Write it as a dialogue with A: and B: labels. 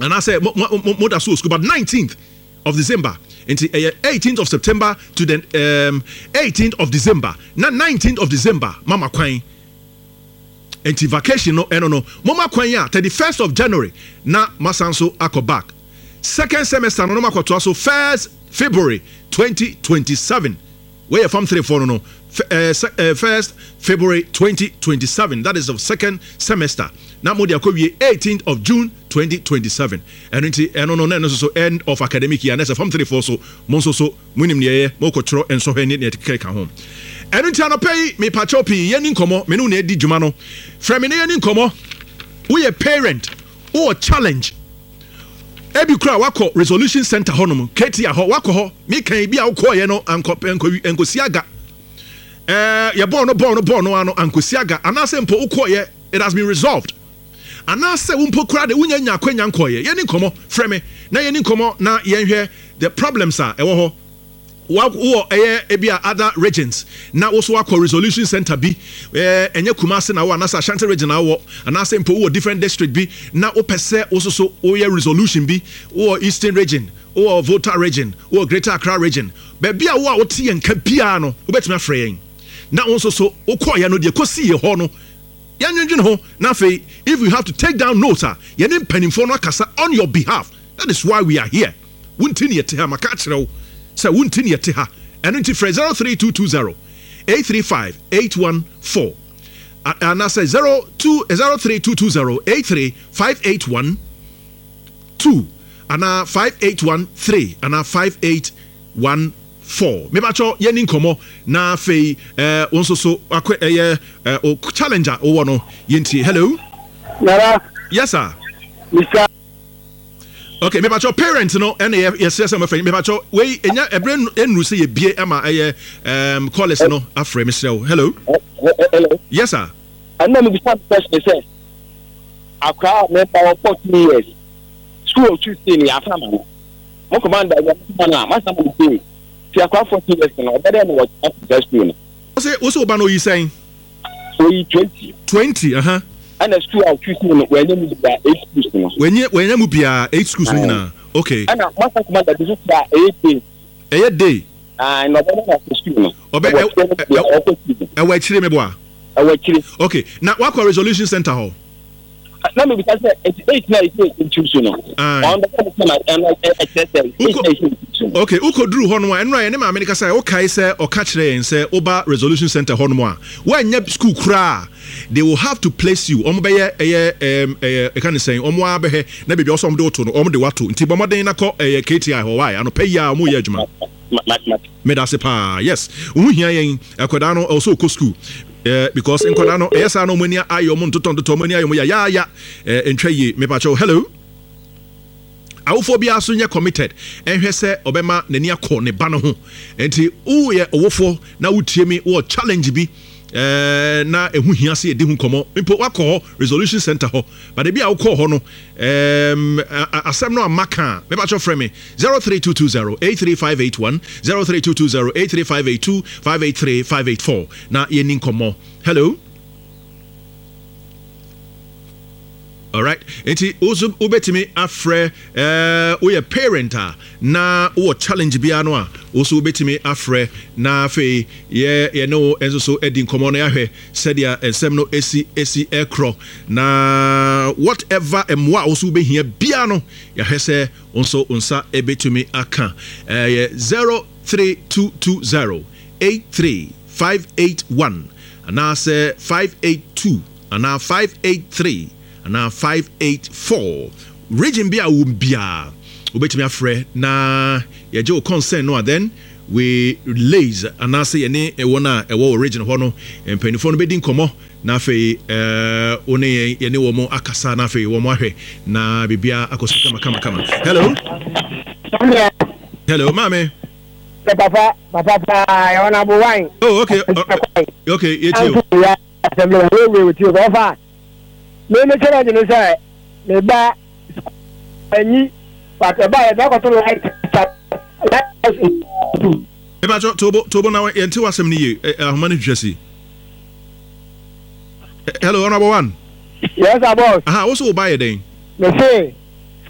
A: Anaasɛ mo mo mo moda so wɔ sukuu but 19th of December nti ɛyɛ 18th of September to the um, 18th of December na 19th of December mama kwan nti vacation no ɛno no moma kwan a 31st of January na masan so akɔ back second semester no no makɔtoa so 1st February 2027. Wei yɛ Form 3 foɔ no no, 1st February 2027, that is the second semester, na mode akɔwie 18th of June 2027. Ɛno nti ɛno no na ɛno nso so end of academic year, na ɛsɛ Form 3 foɔ so mo nso so monim deɛ ɛyɛ, mokɔtwerɛ nsɔhwɛ ne deɛ ɛkeka ho. Ɛno nti anɔpa yi mepakyɛw pii yɛni nkɔmmɔ, me ne wo na ɛdi dwuma no, frɛ me na yɛni nkɔmmɔ. Woyɛ parent, wowɔ challenge, Ebi koraa wakɔ resolution center hɔnom, KTI hɔ, wakɔ hɔ. Meka ebi a wokɔɔyɛ no ankɔ ankɔ ankosi aga. Ɛɛ yɛbɔɔ no bɔɔ no bɔɔ no ano ankosi aga. Anaasɛ mpo wokɔɔyɛ it has been resolved. Anaasɛ wo mpo koraa de wonya nya akwanya nkɔɔyɛ. Yɛni nkɔmɔ, frɛ me na yɛni nkɔmɔ na yɛnhwɛ the problems a ɛwɔ hɔ. Wowɔ ɛyɛ ebi a other regions na wo so wakɔ resolution center bi, ɛɛ ɛnyɛ Kumasi na wɔ anaasɛ Ashanti region na wɔ anaasɛ mpo wowɔ different district bi na wopɛ sɛ wo so so woyɛ resolution bi, wowɔ Eastern region, wowɔ Volta region, wowɔ Greater Accra region, baabi a wo a wote yɛn nka biara no wobɛtumi afrɛ yɛn na wo nso so wokɔɔyɛ no deɛ kɔsiiɛ hɔ no yɛnwendwene ho na afei if you have to take down notes a yɛne mpanimfoɔ no akasa on your behalf. That is why we are here. Wo nti na yɛte ha. Maka akyerɛ wo sɛ wo nti na yɛte ha. Ɛno nti frɛ 03220 835 814 anaasɛ 02 03220 83 581 2 anaa 5813 anaa 5814. Mebakyɛ yɛni nkɔmmɔ na afei eh, wo nso so akɔ ɛyɛ eh, o challenge a wowɔ no yɛntie. Hello.
B: Nana.
A: Yes sir.
B: Mr.
A: Okay, mepakyɛw parent no ɛna yɛ yɛsrɛ sɛ mɔfrɛ mepakyɛw wei enya ɛbrɛ nnuru sɛ yɛbie ama ɛyɛ um, callers no afrɛ mesrɛ wo. Hello.
B: Hello.
A: Yes sir.
B: Ɛna mebisa question sɛ akwaraa a meba wɔ 14 years school otu si ne yɛafa ma no mo commander yɛ ma no a masa ma no sei ti akwaraa 14 years no ɔbɛdɛ no wɔ saa school no.
A: Wose wose wo ba no oyi sɛn?
B: Oyi 20.
A: 20 aha.
B: Ɛna school a ɔtwi sini no wanya mu biara eight schools no.
A: Wanya wanya mu biara eight schools no nyinaa okay.
B: Ɛna masa kuma da bi so a ɛyɛ day.
A: Ɛyɛ day.
B: Ah na ɔbɛ na ɔkɔ school no.
A: Ɔbɛ
B: ɔkɔ school no.
A: Ɛwɔ akyire meboa.
B: Ɛwɔ akyire.
A: Okay na wakɔ resolution center hɔ.
B: Na mebisa sɛ nti eight na ɛsɛ ntu so no. Ɔn bɛ sɛ na ɛno ɛkyerɛ sɛ eight na ɛsɛ ntu so no.
A: Okay wokɔduru hɔ nom a ɛnora yɛne maame no kasa wokae sɛ ɔka kyerɛ yɛn sɛ woba resolution center hɔ nom a woannya school koraa they will have to place you wɔn bɛyɛ ɛyɛ ɛɛm ɛyɛ ɛka ne sɛn wɔn ara bɛhɛ na baabi a wɔsɛ wɔn de woto no wɔn de wato nti bɔ mmɔden na kɔ ɛyɛ KTI hɔ why anɔpa yi a wɔn yɛ adwuma meda ase paa yes wo ho hia yɛn akwadaa no ɛwɔ sɛ ɔkɔ school eh, because nkwadaa no ɛyɛ saa na wɔn ani ayɛ wɔn ntotɔ ntotɔ wɔn ani ayɛ wɔn yayaaya eh, ntwa yie mepakyɛw hello. Awofoɔ biara nso nyɛ committed nhwɛ sɛ ɔbɛma n'ani akɔ ne ba no ho. Nti woyɛ ɔwofoɔ na wotie me wɔ challenge bi eh, na ɛho hia sɛ yɛdi ho nkɔmmɔ mpo wakɔ hɔ resolution center hɔ but ebi a wokɔɔ hɔ no um, asɛm no amma ka a mepakyɛ frɛ me 03220 83581 03220 83582 583 584 na yɛni nkɔmmɔ. Hello. Alright, nti wo nso wobɛtumi afrɛ eh, woyɛ parent a na wowɔ challenge biara no a wo nso wobɛtumi afrɛ na afei yɛ yɛne wo nso so adi nkɔmmɔ na yɛahwɛ sɛdeɛ nsɛm no ɛsi ɛsi ɛkorɔ na whatever mmoa a wo nso wobɛhia biara no yɛahwɛ sɛ wo nso wo nsa ɛbɛtumi aka ɛyɛ 03220 83581 anaasɛ 582 anaa 583 anaa 584 region bi a wowɔ mu biara wobɛtumi afrɛ na yɛgye wo concern no a then we liaise anaasɛ yɛne wɔn a ɛwɔ wɔ region hɔ no mpanimfoɔ no bɛdi nkɔmmɔ na afei wo ne yɛn yɛne wɔn akasa na afei wɔn ahwɛ na biribiara akɔ so kama kama kama. Hello. Hello maame.
B: Papa papa paa yɛ wɔn abo wine.
A: Oh okay okay yɛ ti o.
B: Asɛm no wɔ wei wɔ tie ɔfa me me challenge ne sɛ me ba anyi but ɛba yɛ bɛkɔto light light house two.
A: Mepakyɛ tobo tobo na yɛn te w'asɛm no yie ahoma no twitwa si. Hello honorable one.
B: Yes sir boss.
A: Aha wo so wo ba yɛ dɛn.
B: Me se.